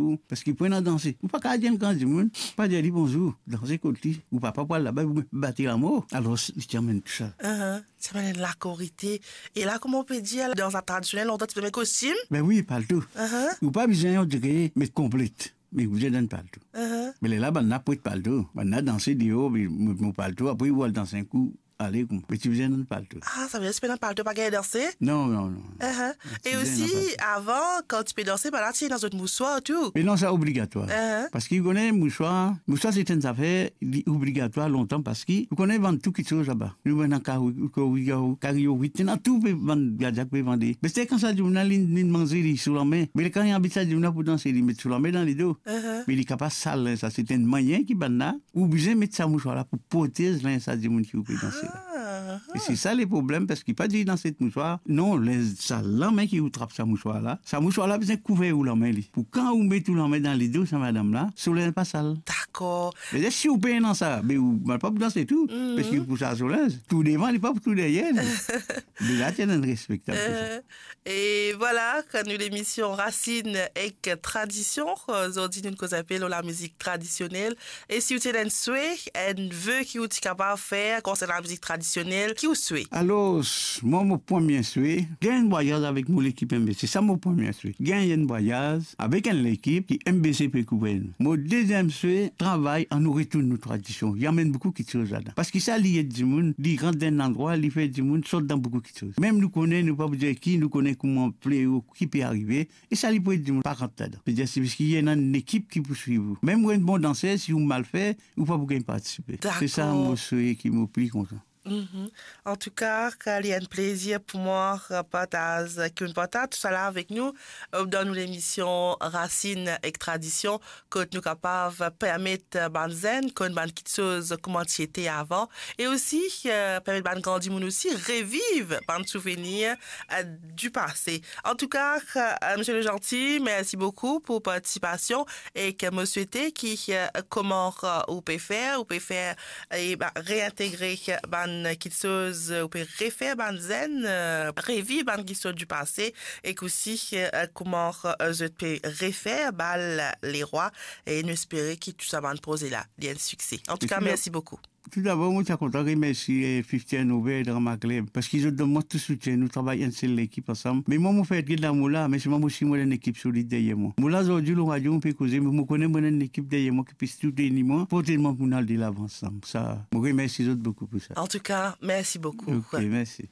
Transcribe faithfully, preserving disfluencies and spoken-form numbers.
Ou, parski pou ena danse, ou pa kapav dir enn gran dimoun, pa dir li bonzour, danse kot li, ou papa pou al laba, ou bat li lamor. Alor, li ti amenn tou sa. Ahan, ti amenn enn lakorite. E la, kouma ou pe dir, dan sa tradisionel, lontan ti pe met kostim? Ben wi, palto. Ahan. Ou pa bizin, on dire, met konplet. Me ou bizin dan palto. Ahan. Me lerla, bann la pwet palto. Bann la danse deor, me, me, mo palto, apre ou al danse enn kou, ale kouma. Me ti bizin dan palto. Ah, savedir ti pe dan palto, pa gagn danse? Non, non, non. Ahan. Ti bizin dan palto. E osi, avan, kan ti pe danse, bann la ti ena zot mouswar tou. Me non, sa obligatwar. Ahan. Parski ou kone mouswar, mouswar se enn zafer, li obligatwar lontan parski ou kone vann tou kitsoz laba. Nou vann kari, kari, kari, wi, ti ena tou pe vann, gardien pe vande. Me se kan sa dimoun la, li, li manze li sou lame. Me kan li anvi sa dimoun la pou danse, li met sou lame dan lido. Ahan. Me li kapav sal, sa se enn manyer ki bann la, ou bizin met sa mouswar la pou protez linz sa dimoun ki ou pe danse la. Ah, ah. E se sa le problem, parski pa dir dan set mouswar, non, linz sa lame ki ou trap sa mouswar la, sa mouswar la bizin kouver ou lame li. Pou kan ou met ou lame dan lido sa madam la, so linz pa sal. Dakor. Me si ou pena sa, be ou, mal pa pou danse tou, mhm, parski pou sa so linz, tou devan, li pa pou tou deryer li. Deza ti ena enn respektab pou sa. Euh, E vwala, kan nou lemision Rasin ek Tradision, zordi nou koz enpe lor lamizik tradisionel. E si ou ti ena enn swe, enn ve ki ou ti kapav fer konsernan lamizik tradisionel, ki ou swe? Alor, mwa, mo premie swe, gagn enn vwayaz avek mo lekip M B C. Sa mo premie swe. Gagn enn vwayaz avek enn lekip ki M B C pe kouver nou. Mo deziem swe, travay, annou retourn nou tradision. Li amenn boukou kitsoz ladan. Parski sa li ed dimoun, li rant dan enn landrwa, li fer dimoun sort dan boukou kitsoz. Mem nou kone, nou pa pou dir ki, nou kone kouma fleo ki pe arive, e sa li pou ed dimoun pa rant ladan. Vedir, se parski ena enn lekip ki pou swiv ou. Mem ou enn bon danser, si ou mal fer, ou pa pou gagn partisipe. Se sa, dakor, mo swe ki mo pli kontan. Mhm. Antouka, li enn plezir pou mwa, euh, partaz, ki ou'nn partaz tousala avek nou, euh, dan nou lemision Rasin ek Tradision, kot nou kapav permet bann zenn konn bann kitsoz kouma ti ete avan, e osi, euh, permet bann gran dimoun osi reviv bann souvenir, euh, du pase. Antouka, euh, Misie Legentil, mersi boukou pou partisipasion, e ke mo swete ki, euh, kouma, euh, ou pe fer, ou pe fer e ba, reintegre bann kitsoz, ou pe refer bann zenn, euh, reviv bann kitsoz du pase, ek osi, euh, kouma, euh, zot pe refer bal lerwa, e nou espere ki tou sa bann proze la, li enn sikse. Antouka, mersi boukou. Toudabor, mo ti kontan remersie, euh, Fifty and Over Drama Club, parski zot donn mwa tou soutien, nou travay enn sel lekip ansam. Me mwa, mo fer get lamour la, me selman mo si mo ena enn ekip solid deryer mwa. Mo la zordi lor radio, mo pe koze, me mo kone mo ena enn ekip deryer mwa ki pe soutni mwa, pou telman pou nou al delavan ansam. Sa, mo remersi zot boukou pou sa. Antouka, mersi boukou. Ok, mersi.